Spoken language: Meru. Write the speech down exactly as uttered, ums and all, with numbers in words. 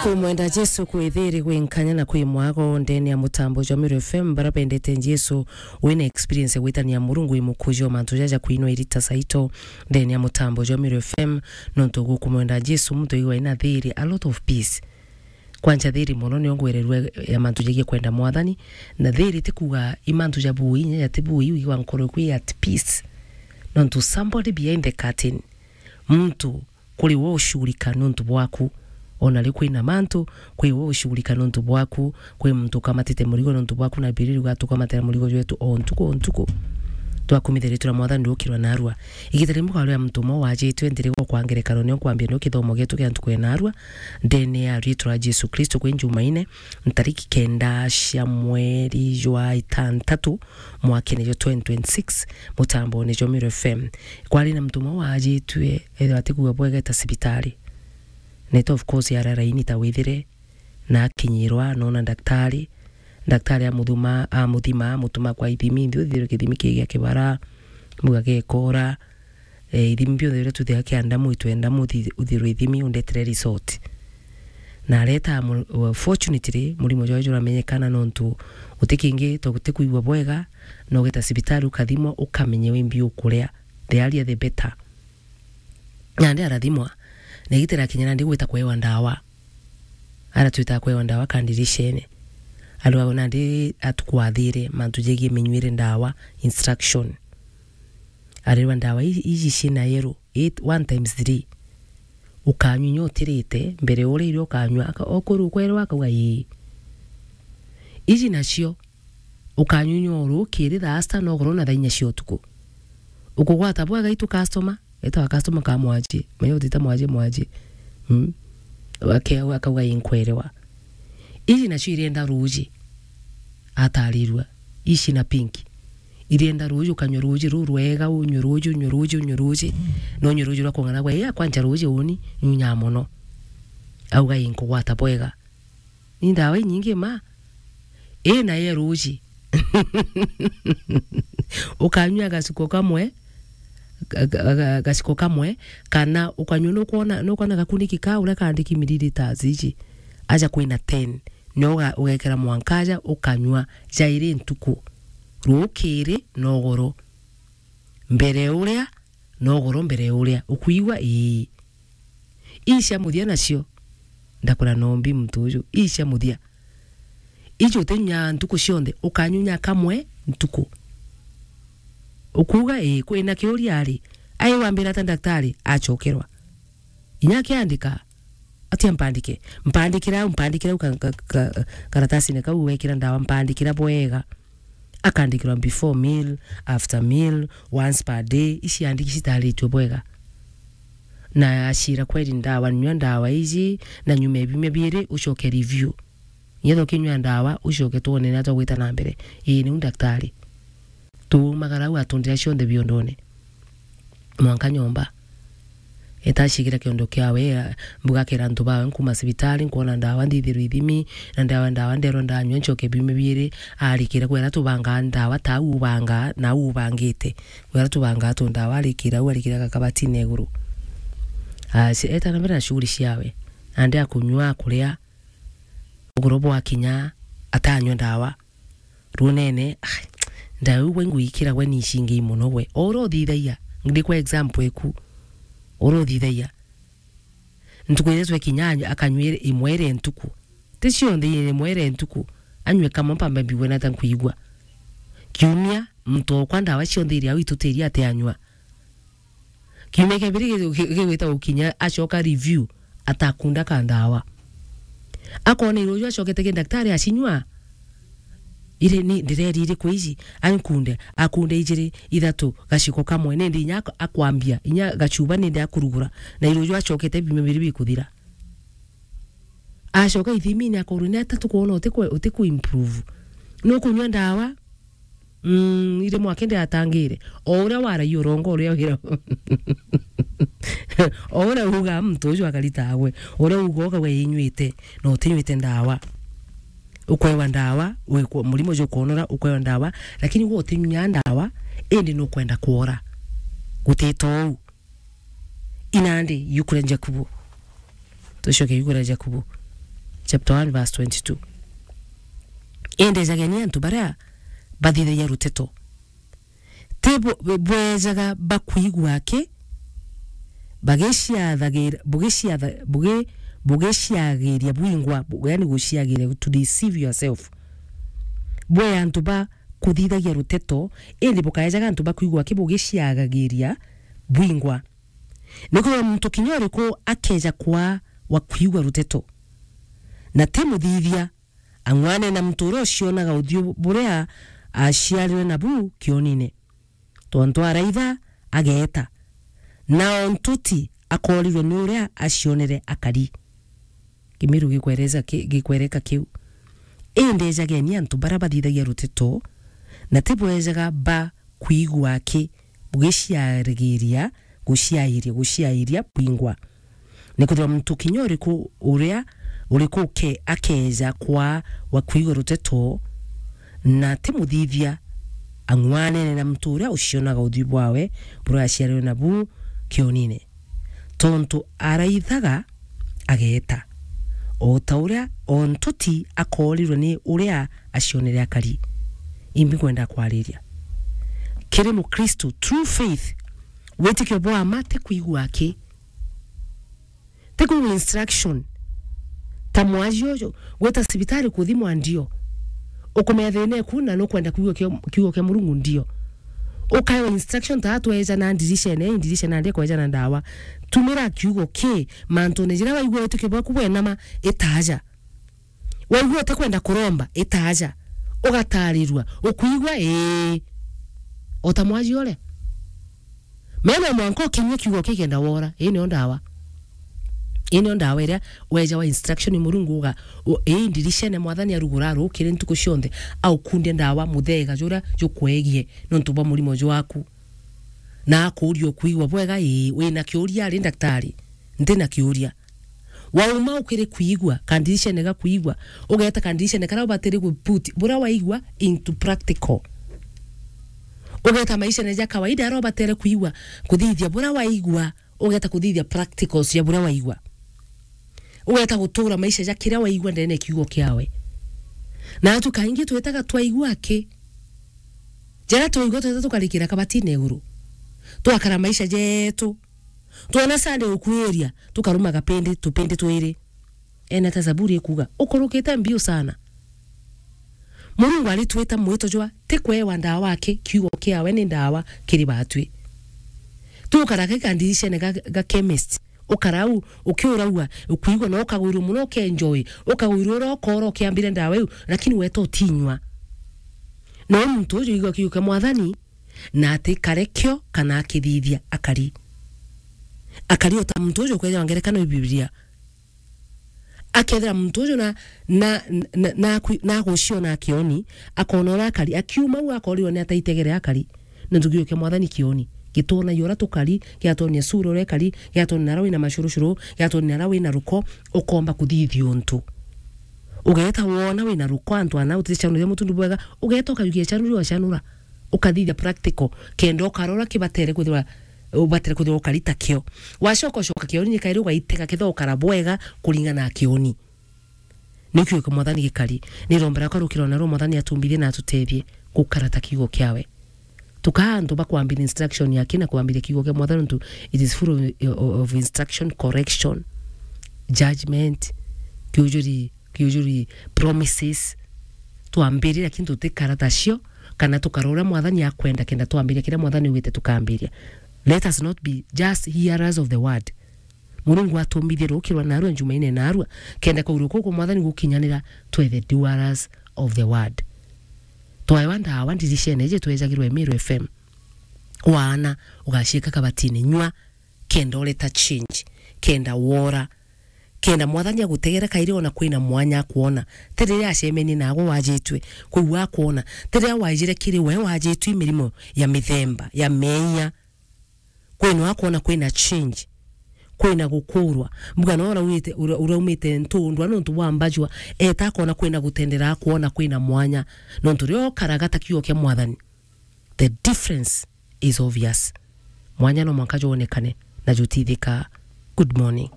Kumwenda Jesu kwi thiri, gwi nkanya na kwi mwago. Ndene ya mutambo jwa Meru F M, bara bendete Jesu, wina experience ya gwitania Murungu i mukuji wa mantu jaja kwinwa irita saito. Ndene ya mutambo jwa Meru F M, nontu gukumwenda Jesu, muntu igwa ina thiri, a lot of peace. Kwanja thiri mono nio ngwererua ya mantu jegie kwenda Mwathani, na thiri ti kuga i mantu ja bui, inya ja ti bui, wigwa nkoro kwi at peace. Nontu somebody behind the curtain, muntu kuri we ushughulika nontu bwaku. Ona ri kwina mantu, kwi we ushughulika nontu bwaku, kwi muntu ukamatite murigo nontu bwaku, na Bibilia iriuga tukamatira murigo jwetu o ntuku o ntuku. Twakumithiritwe na Mwathani ndukirwa narua. Igita rimwe kwa uria muntu umwe wajitwe nthiri gwa kwa ngerekano nio nkwambia nio kithomo gietu kia ntuku ya narua, ndene ya ritwa ria Jesu Kristo kwi Njumaine, ntariki kenda cia mweri jwa itantatu, mwakene jwa twenty twenty-six, mutambone jwa Meru F M. Kwari na muntu umwe wajitwe, ethirwa atikugua bwega eta cibitari. Neta of course ara raini ta withire, na akinyirwa, nona daktari. Daktari amuthuma, amuthima, amutuma kwa ithimi, nthi uthirwe kithimi kii gia kibara, muga gekora, eh, ithimi bionthe biria tuthiaga kia ndamu, itwenda muthi-, uthirwe ithimi, undetere result. Na areta mu-, fortunately, murimo jwawe juramenyekana nontu guti kingi to guti kwigua bwega, na ugeta cibitari ukathimwa, ukamenya wimbi ukuria. The earlier the better. Nandi arathimwa, na igita rirakinya nandi gwita kwewa ndawa. Aratwita kwewa ndawa kandirishene. Arwa nandi atukwathire mantu jegie minyuire ndawa, instruction. Arirwa ndawa i-, iji cina yero, eight, one times three. Ukanywa inya utirite, mbere uria irio ukanywa, aka-, okorwo ukwerwa akauga, "Ii." Iji nacio, ukanywa inya urukiri thaa sita na ugoro na thaa inya cia utuku. Ukugwata bwega itu customer, etawa customer ka mwaji, menya utita mwaji, mwaji. Mm. Ake-, akauga, "Ii nkwerewa." Iji nacio irienda ruji, atarirua. Ici na pink. Irienda ruji, ukanywa ruji ruu rwega, unywe ruji, unywe ruji, unywe ruji. Na unywe ruji rwa kung'ana gwa, "Iya, kwanja ruji uni, nyunyaa mono." Auga, "Ii nkugwata bwega." Ni ndawa inyingi ma. Ii nayo ruji. Ukanywa gaciko kamwe, ga-, ga-, ga-, gaciko kamwe, kana ukanywa nukwona, nukwona gakuniki ka uria kaandiki milliliters iji. Aja kwina ten. Nio uga-, ugekira mwanka aja ukanywa jairi ntuku. Rukiri na ugoro. Mbere uria na ugoro mbere uria. Ukwigua? Ii. Ii cia muthia nacio. Ndakura nombi muntu uju. Ii cia muthia. Iji utinyunyaa ntuku cionthe, ukanyunya kamwe ntuku. Ukuuga, "Ii, kwina kiuria ari?" Ai wambira ata daktari? Acokerwa. Inya akiandika, atia mpandike? Mpandikira au, mpandikira au ka, ka, ka, karatasine kau wekira ndawa, mpandikira bwega. Akandikirwa before meal, after meal, once per day, iciandiki citaritwe bwega. Na acira, "Kweri ndawa, nyua ndawa iji, na nyuma ya biumia biiri, ucoke review. Nyetha ukinyua ndawa, ucoke twone na twagwita na mbere." Ii, niu daktari. Tuumagara au atundira cionthe biondone. Mwanka nyomba. Etacikira kiondo kiawe, a, mbuga akera antu bawe, "Nkuma cibitari, nkwona ndawa, nthithirwe ithimi, na ndawa, ndawa nderwa ndanyua, ncoke biumia biiri." Arikira kwera tubangaa ndawa, ta au ubangaa, na au ubangite. Kwera tubangaa tu ndawa, arikira au, arikira gakabatine iguru. A, ci-, eta na mbere na shughuli ciawe. Nandi akunyua, akuria, ugoro bwakinya, atanyua ndawa. Runene, ai, ndawa iu gwe nguikira gwe ni icingi mono gwe. O uria uthithagia, ndi kwa example eku. O uria uthithagia. Ntuku iria twekinya anywe, akanywa iri, imwe iri ntuku. Ti cionthe, imwe iri ntuku. Anywe kamwe mpambe mbigwe nata nkwigua. Kiumia, muntu okwa ndawa cionthe iria au itutiria ati anywa. Kiumia kia mbere gi-, gi-, gigwita gukinya, acoka review, atakunda ka ndawa. Akona iruju acokete ki daktari acinywa. Iri ni ndireri iriku iji? Ankunde, akunde ijiri, ithatu, gaciko kamwe, nindi inya ak-, akwambia, inya gacuba nindi akurugura. Na iruju acokete biumia biri bikuthira. Acoka ithimini akorwo ni atatu kwona uti ku, uti ku improve. Nukunywa ndawa? Mm, iri mwaka indi atangire. O uria waragia urongo uria wira. O uria uga muntu ucio akarita agwe. Uria uga uga we inywite, na utinywite ndawa. Ukwewa ndawa, wikwo, murimo ucio ukonora, ukwewa ndawa, lakini we utinywa ndawa, indi nukwenda kwora. Gutita uu. Inandi, yuku ria Jakubu. Tucoke yuku ria Jakubu. chapter one verse twenty-two. Indi ejageni antu baria bathithagia ruteto. Ti bu-, bu-, bwejaga bakwigua aki, bagiciathagira, bugiciatha-, bugi-, bugiciagiria bwingwa, bu-, yani guciagiria, to deceive yourself. Bwe antu ba kuthithagia ruteto, indi bukaejaga antu bakwigua aki bugiciagagiria bwingwa. Nikwithirwa muntu kinya uriku akeja kwaa wa kwigua ruteto, na ti muthithia, ang'wane na muntu uria ucionaga uthiu buria aciarirwe nabu kionine. Tontu araitha, ageeta, na o ntuti akoorirwe ni uria acionere akari. Kimiru gikwereza ki-, gikwereka kiu. Indi ejageni antu baria bathithagia ruteto, na ti bwejaga ba kwigua aki, bugiciarigiria, guciairia, guciairia bwingwa. Nikwithirwa muntu kinya uriku uria, uriku uke-, akeja kwaa wa kwigua ruteto, na ti muthithia, ang'wanene na muntu uria ucionaga uthiu bwawe buria aciarirwe nabu kionine. Tontu araithaga, ageeta, o ta uria o ntuti akoorirwe ni uria acionere akari. Imbi nkwenda kwariria. Kiri Mukristu, true faith, witikio bwa ma ti kwigua aki. Ti kwigua instruction. Ta mwaji uju, gwita cibitari kuthimwa ndio. Ukumenya thina eku na nukwenda kwigua kio-, kiugo kia Murungu ndio. Ukaewa instruction ta atweja na ndiricene, ii ndiricene nandi kweja na ndawa. Tumira kiugo ki mantune jiria waigua witikio bwaku bwenama, itaja. Waigua utikwenda kuromba, itaja. Ugatarirua. Ukwigua? Ii. O ta mwaji uria. Mena mwanka ukinyua kiugo kikenda wora. Ii nio ndawa. Ii nio ndawa iria weja wa instruction ni Murungu uga, u-, ii ndiricene Mwathani arugura arukire ntuku cionthe, aukunde ndawa muthega juria jukwegie nontu bwa murimo jwaku. Na akuuria ukwigua bwega, ii, wina kiuria ari ndaktari? Ntina kiuria. Wauma ukiri kwigua, kandiricene ga kwigua, ugeeta kandiricene karia ubatiri gu put buria waigua into practical. Ugeeta maishene ja kawaida aria ubatere kwigua, kuthithia buria waigua, ugeeta kuthithia practicals ya buria waigua. Ugeeta gutura maisha ja kiria waigua ndene ya kiugo kiawe. Na atu kaingi twitaga twaigua aki. Jaria twaigua tweta tukarikira kabatine iguru. Twakara maisha jetu. Twona Sunday ukwiria, tukaruma gapindi, tupindi twiri. Ena ta Zaburi ikuga, ukurukite mbiu sana. Murungu aritwita mwito jwa ti kwewa ndawa aki, kiugo kiawe ni ndawa kiri batwi. Tukara ki kandiricene ga, ga chemist, ukara au, ukiuraua, ukwigua na ukagwirua muno, ukenjoy, ukagwirua uria ukora ukiambire ndawa iu, lakini weta utinywa. No muntu uju igua kiugo kia Mwathani, na ati karekio kana akithithia akari. Akari o ta muntu uju ukwethirwa ngerekano i Biblia. Akethira muntu uju na, na, na, na, akwi-, na aguciona akioni, akona uria akari, akiuma au akorirwa ni ataitegere akari. Nontu kiugo kia Mwathani kioni. Gitwonagia uria tukari, giatwonia sura uria ikari, giatwonia naria wina macurucuru, giatwonia naria wina ruko, ukomba kuthithia untu. Ugeeta wona wina ruko antu ana uticanuria mutundu bwega, ugeeta ukajukia canuri wacanura. Ukathithia practical, kenda ukarora kibatere kwithirwa, ubatere kwithirwa ukari ta kio. Wacoka ucoka kioni ni kairi ugaitega kethira ukara bwega kuringana na kioni. Ni kiugo kia Mwathani gikari. Nirombera kwa rukiro na rwo Mwathani atumbithie na atutethie gukara ta kiugo kiawe. Tukaa antu ba kwambiria instruction yake na kwambiria kiugo kia Mwathani, nontu it is full of, of, of instruction, correction, judgment, kiujuri, kiujuri promises. Twambiria, lakini tutikara tacio, kana tukara uria Mwathani akwenda, kenda twambiria kiria Mwathani augite tukambiria. Let us not be just hearers of the word. Murungu atumbithie rukirwa narua, Jumaine narua, kenda kwaurua kuku Mwathani gukinyanira, twe the doers of the word. Twaewa ndawa ndiricene iji twejagirwa Meru F M. Waana, ugaciika kabatine, nyua, kenda ureta change, kenda wora, kenda Mwathani agutegera kairi ona kwina mwanya akwona. Ti riria acemenie naagwe wajitwe, kwou akwona. Ti riria waijire kiri we wajitwe i mirimo ya mithemba, ya meeyia. Kwina akwona kwina change, kwina gukurwa. Mbuga no uraumite, ura-, uraumite ntundwa nontu bwa mbajua, eeta akoona kwina gutendera, akwona kwina mwanya. Nontu riria ukaraga ta kiugo kia Mwathani, the difference is obvious. Mwanya no mwanka jwonekane na jutithika. Good morning.